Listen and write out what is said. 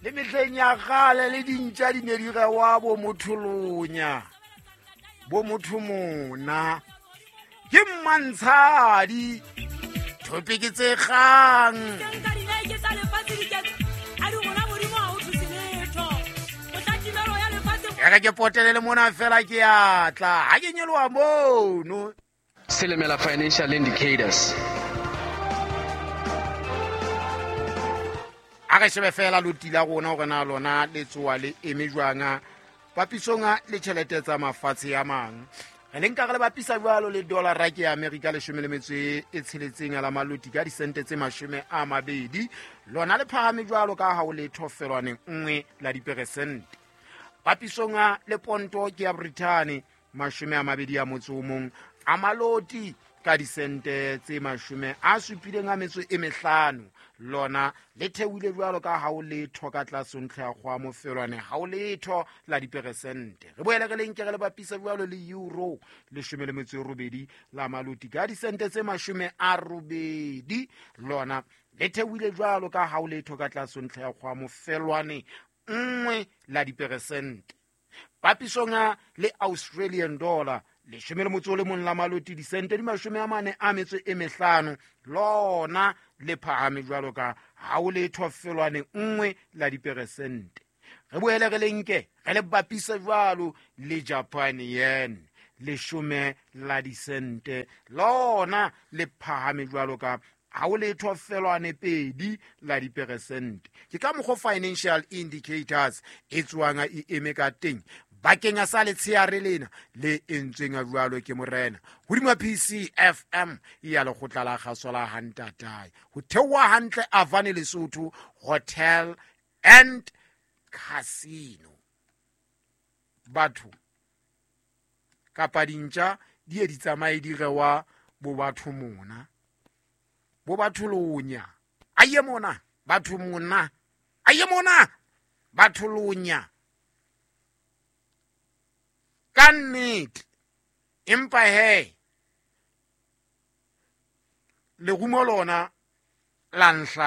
Le mehleng ya kgale le dintja di ne di rewa bo motholonya, bo motho mona. Ke mmantshadi, thopeke tse kgang. E re ke potele le mona fela ke atla ha ke nyeloa mono. Silimela Financial Indicators. A re shebe fela loti la rona hore na lona le tsoa le eme jwang papisong le tjhelete tsa mafatshe a mang. Re le nka re le bapisa jwalo le dollara ke ya Amerika 16 la maloti ka disente tse 20. Lona le phahame jwalo ka ha o letho felwaneng 1 la diperesente. Papisong le ponto ke ya Britain 21 a maloti ka disente tse 75. Lona le theohile jwalo ka ha o letho ka tlase ntlha ya kgwa mofelwane ha o letho la diperesente. Re boele re le nke re le bapisa jwalo le euro 18 la maloti ka disente tse 80. Lona le theohile jwalo ka ha o letho ka tlase ntlha ya kgwa mofelwane 1 la diperesente. Papisong le Australian dollar 11 la maloti disente di 45. Lona le phahame jwalo ka ha o letho felwane 1 la diperesente. Re boele re le nke re le bapise jwalo le Japan yen 10 la disente. Lona le phahame jwalo ka ha o letho felwane 2 la diperesente. Ke ka mokgwa Financial Indicators e tswang e eme ka teng bakeng sa letsheare lena le entsweng jwalo ke morena hodima PCFM ya lekgotla la kgaso la Hantatae ho theoha hantle Avane Lesotho Hotel and Casino. Batho kapa dintja di ye di tsamaye di rewa bo batho mona, bo batho lonya, aye mona batho mona, aye mona batho lonya. Ka nnete, empa he lerumo lona la nhla.